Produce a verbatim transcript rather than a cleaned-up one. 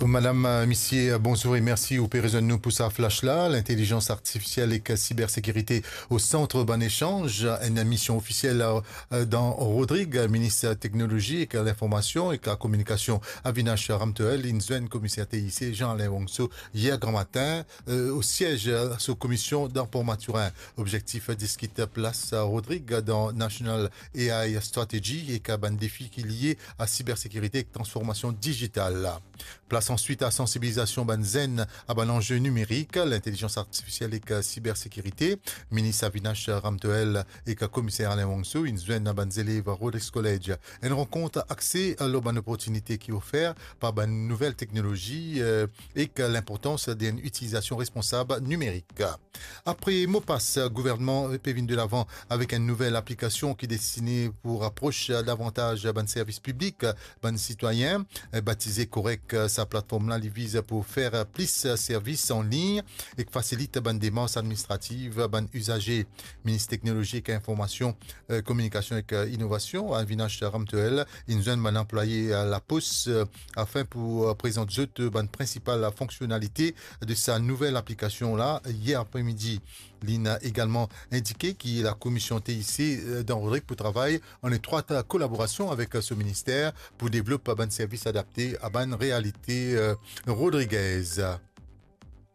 Madam, euh, misie, euh, bonzour e mersi ou pe rezoinn nou pou sa flash la. Lintelizans artifisiel ek sibersekirite o sant bann esanz, enn mision ofisiel, euh, dan Rodrig, minis teknolozi ek linformasion ek lakominikasion Avinash Ramtohel, inn zwenn komiser T I C Jean-Alain Wongso yer gramatin, euh, o siez, euh, so komisie dan Port Mathurin. Objektif, diskit plas Rodrig dan National A I Strategy ek bann defi ki lie a sibersekirite ek transformasion digital. Plas answit a sansibilizasion bann zenn a bann anze nimerik, lintelizans artifisiel ek sibersekirite. Minis Avinash Ramtohel ek komiser Alain Wongso inn zwenn bann zelev Rodrigues College. Enn rankont axe lor bann loportinite ki ofer par bann nouvel teknolozi, euh, ek linportans d'enn itilizasion responsab nimerik. Apre mo pas, gouvernman pe vinn delavan avek enn nouvel aplikasion ki destine pou rapros davantaz bann servis piblik bann sitwayin. Batize Korek, sa platform la, li viz pou ofer plis servis an lign ek fasilit bann demars administrativ bann izaze. Minis Teknolozi ek Informasion, euh, Kominikasion ek, euh, Inovasion, Avinash Ramtohel, inn zwenn bann anplwaye, euh, Lapos, euh, afin pou, euh, prezant zot, euh, bann prinsipal fonksionalite de sa nouvel aplikasion la yer apremidi. Li inn egalman indike ki lakomision T I C, euh, dan Rodrig pou travay an etrwat kolaborasion avek, euh, so minister pou devlop bann servis adapte a bann realite, euh, rodrigez.